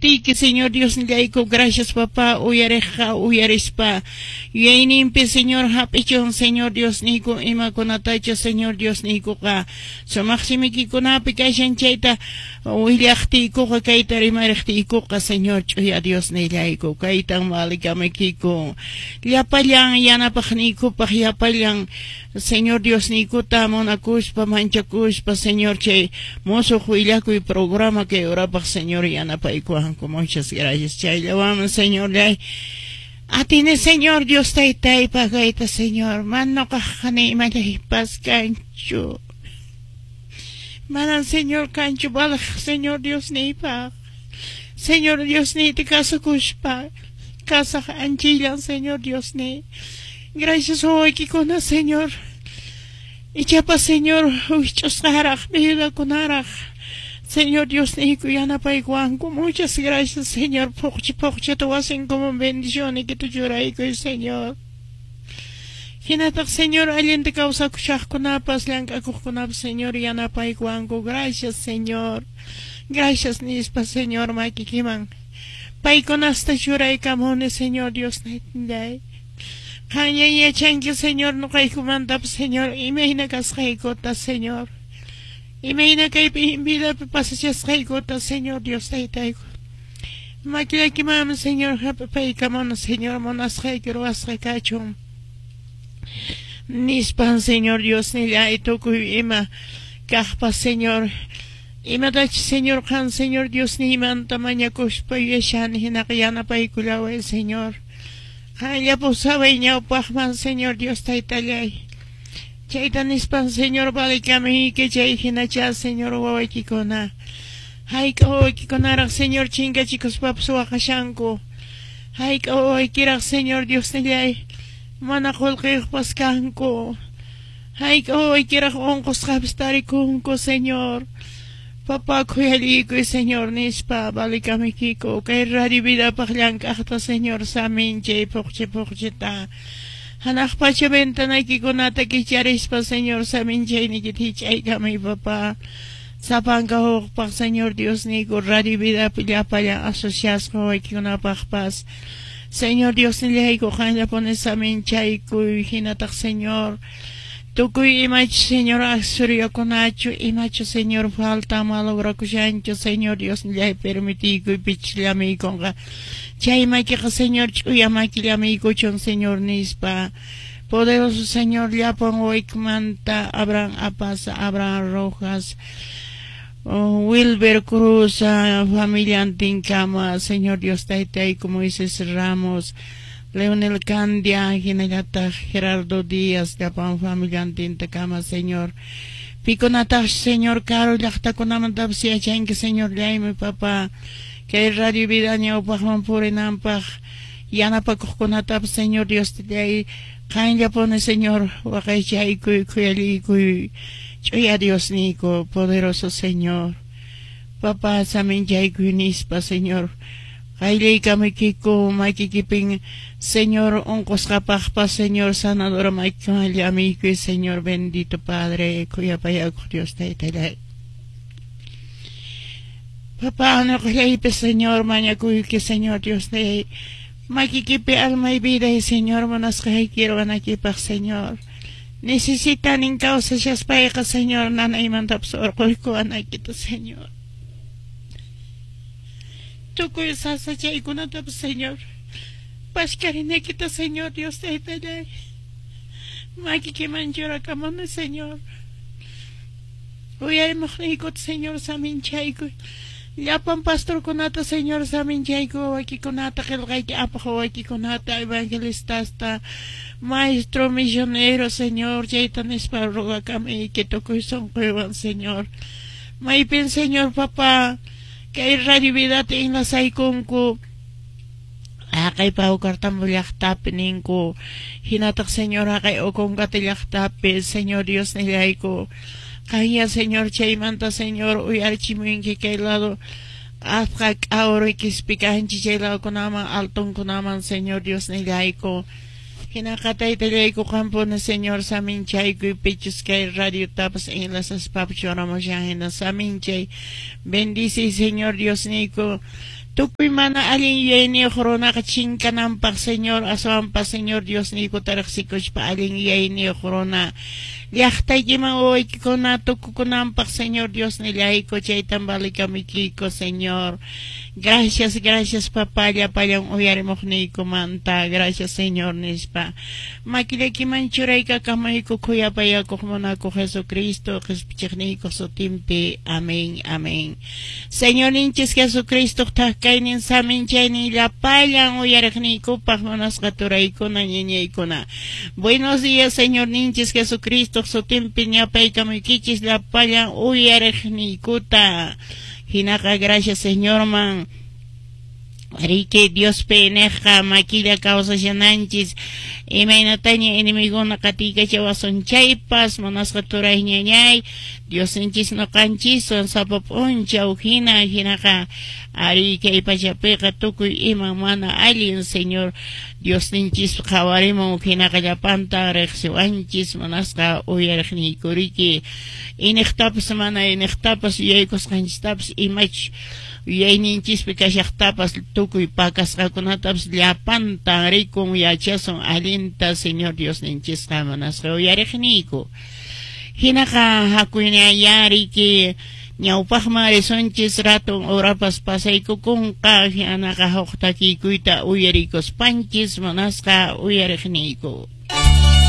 Sutiyki, Señor Diosnillayku, gracias papá, uyariqqa uyarispa yuyayninpi, Señor, hap'ichun, Señor Diosniyku, imakunatachu, Señor Diosniykuqa sumaq simikikunapi kashan chayta willaqtiykuqa, kayta rimariqtiykuqa, Señor, ch'uya Diosnillayku, kaytan valikamuykiku llapallan yanapaqniykupaq, llapallan Señor Diosniykuta munakuspa, manchakuspa, Señor, chay mosoq willakuy programa kay horapaq, Señor, yanapaykuwanku. Muchas gracias. Chayllawanmi, Señorllay, atini, Señor Dios Taytay, pagayta, Señor. Mana noqaqqa ni imallaypas kanchu. Manan, Señor, kanchu valeq, Señor Diosniypaq. Señor Diosniyta kasukuspa kasaq anchillan, Señor Diosniy. Gracias wawaykikuna, Señor. Ichapas, Señor, wikch'usqaraq, viudakunaraq, Señor Diosniyku, yanapaykuwanku. Muchas gracias, Señor. Phuqchi phuqchita wasinkuman bendicionniykita churaykuy, Señor. Hinataq, Señor, allinta kawsakushaqkunapas, llank'akuqkunapas, Señor, yanapaykuwanku. Gracias, Señor. Gracias nispa, Señor, makikiman paykunasta churaykamuni, Señor Diosnillay. Qanlla yachanki, Señor, noqaykumantapas, Señor, imayna kasqaykuta, Señor. Imayna kaypi vidapi pasachasqaykuta, Señor Dios Taytayku. Makillakimanmi, Señor, hap'ipaykamuni, Señor, munasqayki ruwasqa kachun. Nispan, Señor Diosnillay, tukuy ima kaqpas, Señor, imatachus, Señor, qan, Señor Diosniymanta mañakuspa yuyashani hinaqa yanapaykullaway, Señor. Qanlla pusaway ñawpaqman, Señor Dios Taytallay. Chayta nispan, Señor, valikamuyki chay hinacha, Señor, wawaykikuna. Hayk'a wawaykikunaraq, Señor, chinkachikuspapas waqashanku. Hayk'a wawaykiraq, Señor Diosnillay, mana qullqiyuqpas kanku. Hayk'a wawaykiraq unqusqapas tarikunku, Señor. Papá, khuyallikuy, Señor, nispa valikamuykiku. Kay radio vidapaq llank'aqta, Señor, saminchay phuqchi phuqchita. Hanaq pacha ventanaykikunata kicharispa, Señor, saminchayniykita hich'aykamuy, papá. Sapanka hukpaq, Señor Diosniyku, radio vidapi llapallan asociasqa wawaykikunapaqpas. Señor Diosnillayku, qanllapuni saminchaykuy, hinataq, Señor, tukuy imachu, Señor, accesoriokunachu, imachu, Señor, falta malograkushanchu, Señor Diosnillay, permitiykuy pichus llamiykunqa. Chay makiqa, Señor, ch'uya maki llamiykuchun, Señor, nispa. Poderoso Señor, llapan wawaykimanta, Abraham Apaza, Abraham Rojas, Wilber Cruz, familiantinkama, Señor Dios Taytayku, Moisés Ramos, Leonel Candia, hinallataq Gerardo Díaz, llapan familiantintakama, Señor. Pikunataq, Señor, karu llaqtakunamantapas yachanki, Señor, llaymi, papá. Kay radio vida ñawpaqman purinanpaq yanapakuqkunatapas, Señor Dios Taytay, qanllapuni, Señor, waqaychaykuy, khuyallikuy, ch'uya Diosniyku, poderoso Señor. Papá, saminchaykuy nispa, Señor. Qayllaykamuykiku makikipin, Señor, unqusqapaqpas, Señor, sanadora makiwan llamiykuy, Señor, bendito Padre, khuyapayakuq Dios Taytallay. Papá, ñuqallaypi, Señor, mañakuyki, Señor Dios Taytay. Makikipi almay viday, Señor, munasqayki ruwanaykipaq, Señor. Necesitanin kawsashaspayqa, Señor, nanaymantapas urquykuwanaykita, Señor. Tukuy sasachaykunatapas, Señor, pashkarinaykita, Señor Dios Taytallay. Makikiman churakamuni, Señor. Uyarimuqniykuta, Señor, saminchaykuy. Llapan pastorkunata, Señor, saminchaykuy, wawaykikunata, qillqayki apaq wawaykikunata, evangelistasta, maestro misionero, Señor, chayta nispa rogakamuyki tukuy sunquywan, Señor. Maypin, Señor, papá, kay radio vidata enlazaykunku. Haqay Paucartambo llaqtapi ninku, hinataq, Señor, haqay Ocongate llaqtapi, Señor Diosnillayku. Qanya, Señor, chaymanta, Señor, uyarichimunki kay lado atqa k'awru quispicanchi chay ladokunaman, altonkunaman, Señor Diosnillayku. Hinaqa Taytallayku, qampuni, Señor, saminchaykuy pichus kay radiotapas enlazaspapas churamushan hina saminchay. Bendice, Señor Diosniyku. Tukuy mana allin yuyayniyuq runaqa chinkananpaq, Señor, aswanpas Señor Diosniykuta riqsikuspa allin yuyayniyuq runa llaqtaykiman wawaykikuna tukukunanpaq, Señor Diosnillayku, chaytan valikamikiyku, Señor. Gracias, gracias, papá, llapallan uyarimuqniykumanta. Gracias, Señor, nispa. Makillakiman churaykakamayku khuyapayakuq munakuq Jesucristo qhispichiqniykuq sutinpi. Amén, amén. Señorninchis Jesucristoq thak-kaynin saminchaynin llapallan uyariqniykupaq munasqa turaykuna ñañaykuna. Buenos días, Señorninchis Jesucristoq sutinpi ñapaykamuykichis llapallan uyariqniykuta. Hinaqa gracias Señorman. Riki Diospi niqqa makilla kawsashananchis imaynataña enemiguna qatiykachawasun chaypas munasqa turay ñañay Diosninchis ñuqanchiswan sapa p'unchaw hina hinaqa ari kay pachapiqa tukuy iman mana allin Señor Diosninchis qhawarimun hinaqa llapanta riqsiwanchis munasqa uyariqniyku riki iniqtapas mana iniqtapas yuyaykusqanchistapas imach yuyayninchispi kashaqtapas tukuy pakasqakunatapas llapantan rikun yachasun allinta Señor Diosninchisqa munasqa uyariqniyku. Hinaqa hakuyñayá riki ñawpaqman risunchis ratun horapas pasaykukunqa hinaqa huk takiykuyta uyarikuspanchis munasqa uyariqniyku.